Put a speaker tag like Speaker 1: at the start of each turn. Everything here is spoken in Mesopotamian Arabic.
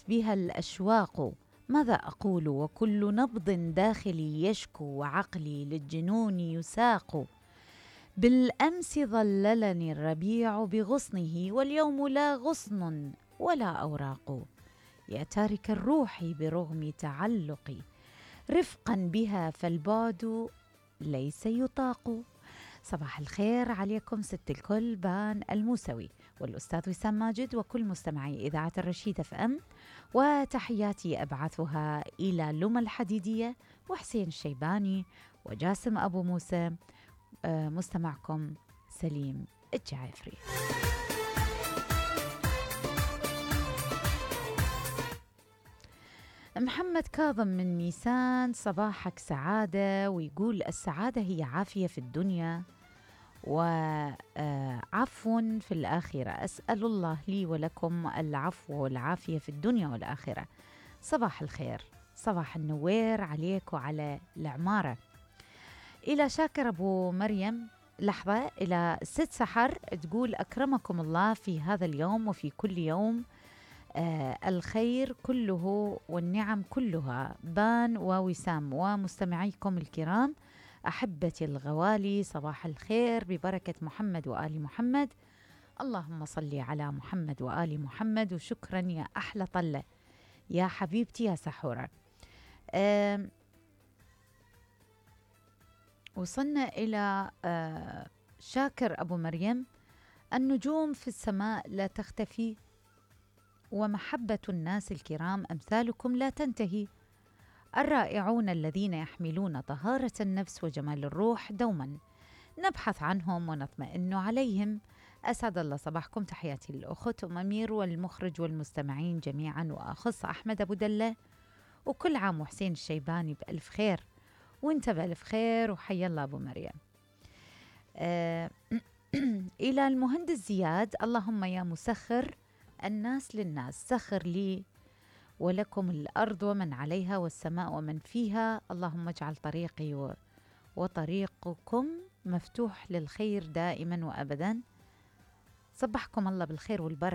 Speaker 1: بها الأشواق، ماذا أقول وكل نبض داخلي يشكو وعقلي للجنون يساق. بالأمس ظللني الربيع بغصنه واليوم لا غصن ولا أوراق. يا تارك الروح برغم تعلقي رفقا بها فالبعد ليس يطاق. صباح الخير عليكم ست الكل، بان الموسوي والأستاذ وسام ماجد وكل مستمعي إذاعة الرشيد اف ام، وتحياتي أبعثها إلى لمى الحديدية وحسين الشيباني وجاسم أبو موسى. مستمعكم سليم الجعافري. محمد كاظم من نيسان، صباحك سعادة، ويقول السعادة هي عافية في الدنيا وعفو في الآخرة. أسأل الله لي ولكم العفو والعافية في الدنيا والآخرة. صباح الخير، صباح النوير عليك وعلى العمارة. إلى شاكر أبو مريم، لحظة، إلى ست سحر تقول أكرمكم الله في هذا اليوم وفي كل يوم، الخير كله والنعم كلها. بان ووسام ومستمعيكم الكرام أحبتي الغوالي، صباح الخير ببركة محمد وآل محمد. اللهم صل على محمد وآل محمد. وشكرا يا أحلى طلة يا حبيبتي يا سحورة. وصلنا إلى شاكر أبو مريم، النجوم في السماء لا تختفي ومحبة الناس الكرام أمثالكم لا تنتهي. الرائعون الذين يحملون طهارة النفس وجمال الروح دوما نبحث عنهم ونطمئن عليهم. أسعد الله صباحكم، تحياتي للأخت أم أمير والمخرج والمستمعين جميعا، وأخص أحمد أبو دلة، وكل عام وحسين الشيباني بألف خير وانت بألف خير، وحيا الله أبو مريم. إلى المهندس زياد، اللهم يا مسخر الناس للناس سخر لي ولكم الأرض ومن عليها والسماء ومن فيها، اللهم اجعل طريقي وطريقكم مفتوح للخير دائما وأبدا. صبحكم الله بالخير والبركة